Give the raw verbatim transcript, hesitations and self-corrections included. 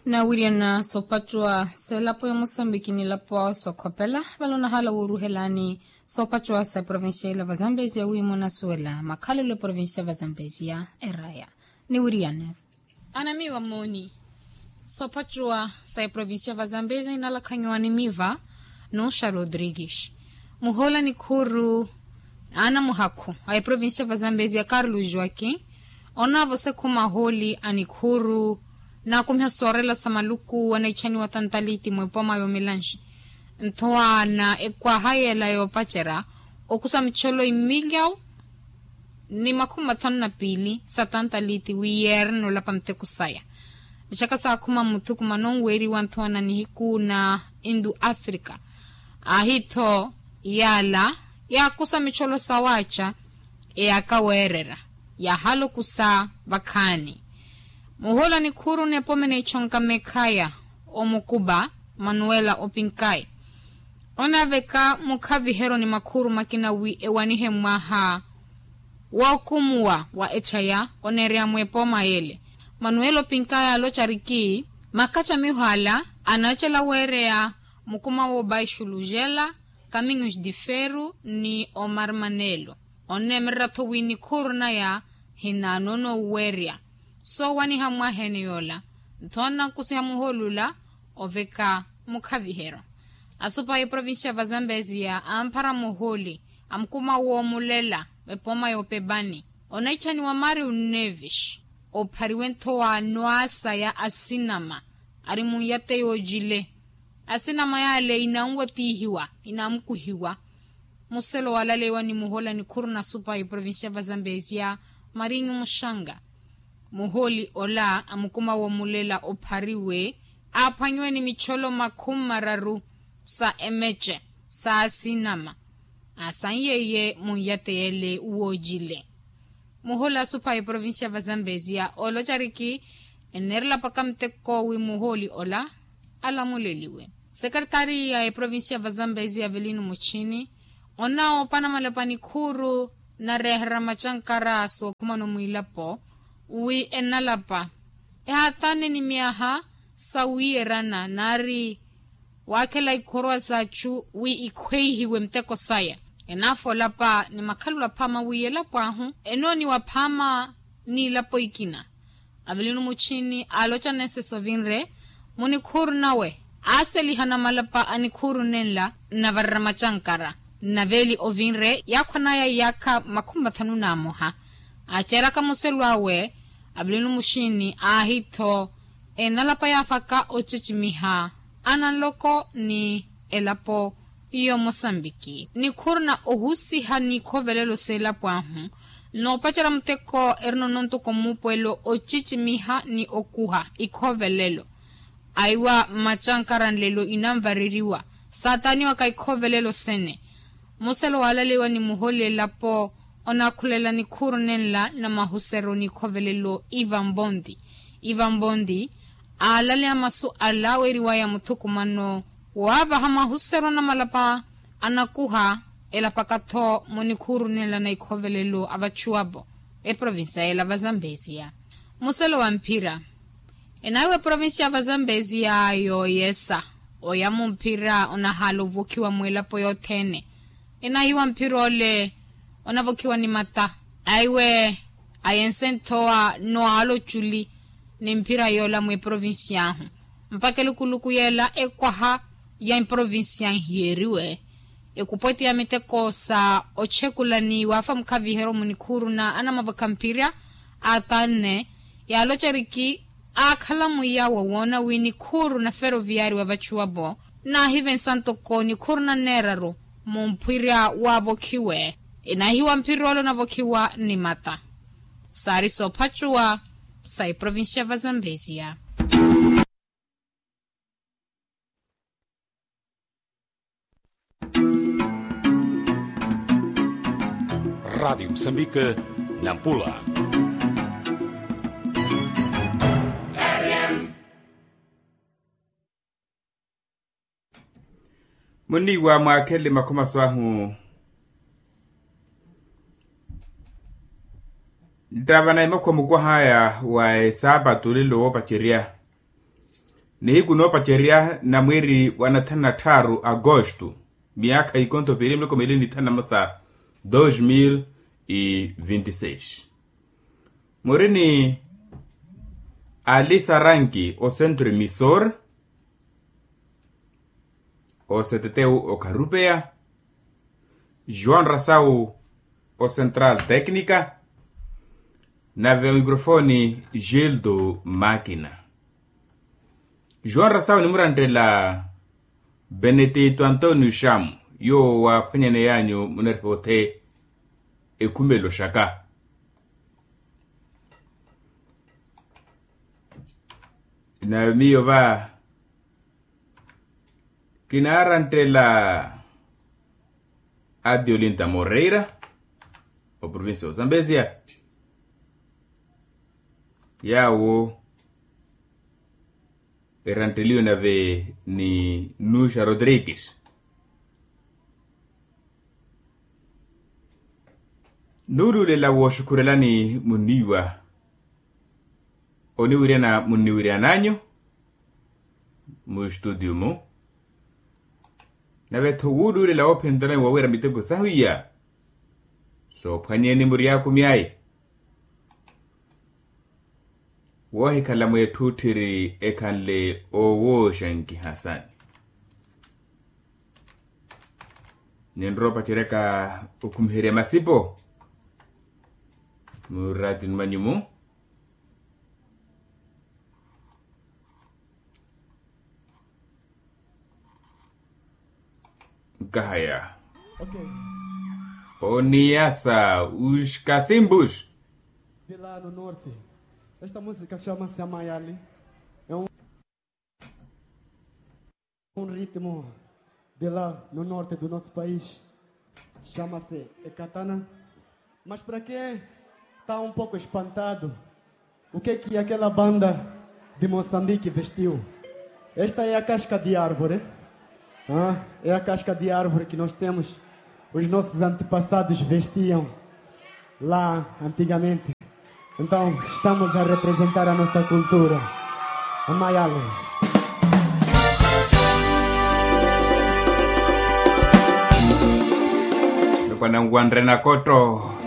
Nawiriyana soopattuwa seelapo ya mosambiki nilapo sookhopela vale onahaala wooruhelani soopattuwa sa provincia ila vazambezia wi munasuwela makhalelo eprovincia vazambezia eraya. Niwiriyane anamiiwa mooni soopattuwa sa eprovincia vazambezia inalakhanyiwa animiiva. Nuxa rodrigues muhoola nikhuuru anamuhakhu a eprovincia vazambezia carlos joaquim onaavosa ekhuma hooli a nikhuuru naakumiha soorela sa maluku anaitthaniwa tantaliti mwepooma yoomilanxi. Nthowa na ekwaha yeela yoopacerya okusa micholo imilyawu ni makhumi mathanu na piili sa tantaliti wi yeerene olapa muteko saya. Mixaka saakhuma mmuthukumano onweeriwa nthowa na nihiku na indu africa aahi-tho yaala yaakusa micholo sawaaca eyaaka weererya yaahalokusa vakhaani. Muhoola nikhuuru n'epome n'echonka meekhaya omukuba manuela opinkai onaaveka mukhaviheryo ni makhuuru makina wi ewanihe mmwaha wookumuwa wa echaya oneereya mwepooma yeele. Manuela opinkai aaloca ariki makacamiho ala anaacela weereya mukuma woobaixulujela caminhos de ferro ni omarmanelo oneemererya-tho wi nikhuuru naya hinaanoona oweerya soowaniha mmwaha ene yoola. Nthowa nnankusiha muhooli ola oveka mukhaviheryo. Asupa a eprovincia vazambezia amphara muhooli amukuma woomulela epooma yoopepani onaitthaniwa mario nevis ophariwe nthowa noasa ya asinama ari munyate yoojile. Asinama yaale inanwatihiwa inamukuhiwa. Muselo waalaleyiwa ni muhooli a nikhuuru na supa a eprovincia vazambezia marinyu muxanga muhooli ola a mukuma woomulela ophariwe aaphwanyiwe ni micholo makhumi mararu sa emece sa asinama aasanyiye munyate yeele woojile. Muhooli asupa a eprovincia vazambezia ooloca ariki enneerela paka muteko wi muhooli ola alamuleliwe. Sekeretari ya eprovincia vazambezia avelino muchini onoopa namalapa nikhuuru nareeherya macankara sookhumano mwiilapo wi enalapa ehaatane ni myaha sawiiyerana naari waakhela ikhorowa s'achu wi ikhweihiwe muteko saya. Enaafa olapa ni makhalelo aphaama wi elapo ahu enooniwa aphaama n'ilapo ikina. Avelino muchini aaloca neseso ovinre munikhuuru nawe aaseliha namalapa a nikhuuru nenla nnavarera macankara nnaveeli ovinre yaakhwanaya iyaakha makhumi mathanu n'amoha. Aaceeraka muselo awe avelino muxini aahi-tho enalapa yaafaka ocecimiha ananloko ni elapo y'omosambiki nikhuuru na ohusiha n'ikhovelelo s'elapo ahu noopacerya muteko erina onontuko mmuupuwelo ocecimiha ni okuha ikhovelelo. Aiwa macankara nlelo inanvareriwa saataaniwaka ikhovelelo sene. Muselo waalaleyiwa ni muhooli elapo onaakhulela nikhuuru nenla na mahuseryo n'ikhovelelo ivan bondi. Ivan bondi aalaleya masu ala weeriwaya muthukumano waavaha mahuseryo na malapa anakuha elapaka-tho munikhuuru nenla na ikhovelelo a vachuwapo eprovincia yeela vazambezia. Muselo wa mphira enaiwa eprovincia vazambezia yooyesa oya mumphira onahaala ovokhiwa mwilapo yothene. Enahiwa mphira ole onavokhiwa ni mata aiwe ayense nthowa nowaala oculi ni mphira yoola mwiprovincia ahu mpakha elukuluku yeela ekwaha ya iprovincia nhiyeriwe. Ekupweti ya miteko sa ochekula ni waafa mukhaviheryo munikhuuru na anamavokha mphira atanne yaaloca eriki aakhala mwiya wa woona wi nikhuuru na feroviari wa vachuwapo naahivensa ntoko nikhuuru na nneeraru mumphira waavokhiwe. Enahiwa mphira ole onavokhiwa ni mata saari soophacuwa sa iprovincia vazambezia. Radiyo musambika nampula. Muniiwa mwakhele makhomaso ahu nttava na imakhuwa mukwahaya wa esaapatu olelo woopacerya. Nihiku noopacerya na mwiiri wa nathanu na tthaaru agosto, miyaakha ikonto piili miloko miili ni thanu na mosa, dos mil e vinte e seis. Muri ni ali saranki o centro emissor, o cttu o karupeya, joão rasau o central técnica, nave o microfone gildo makina. João rasau nimuranttela benedito antonio chamo, yoowo waaphwanyaneyanyu munariha othe ekhumelo xaka. Nave miyo va kinaaranttela adiolinta moreira, oprovincia osambesia, yaawo erantteliwe nave ni nuxa rodrigues. Nuuluulela wooxukhurelani munniiwa oniwiryana munniwiryananyu mustudio-mu. Nave-tho wuuluulela woophentanani wawira miteko sahu iya soophwanyeni muryakumyayi. Woohikhala mweetthutthiri ekhanle oowooxankiha sani. Ninrowa opaceryaka okhumiherya masipo muraatini mwanyu-mu. Nkahaya. Oniyasa os casimbos. De lá no norte. Esta música chama-se Amayali. É um um ritmo de lá no norte do nosso país. Chama-se Ekatana. Mas para quem está um pouco espantado, o que que aquela banda de Moçambique vestiu? Esta é a casca de árvore. Ah, é a casca de árvore que nós temos. Os nossos antepassados vestiam lá antigamente. Então, estamos a representar a nossa cultura. Amayale. Nukwananwanre nakotto.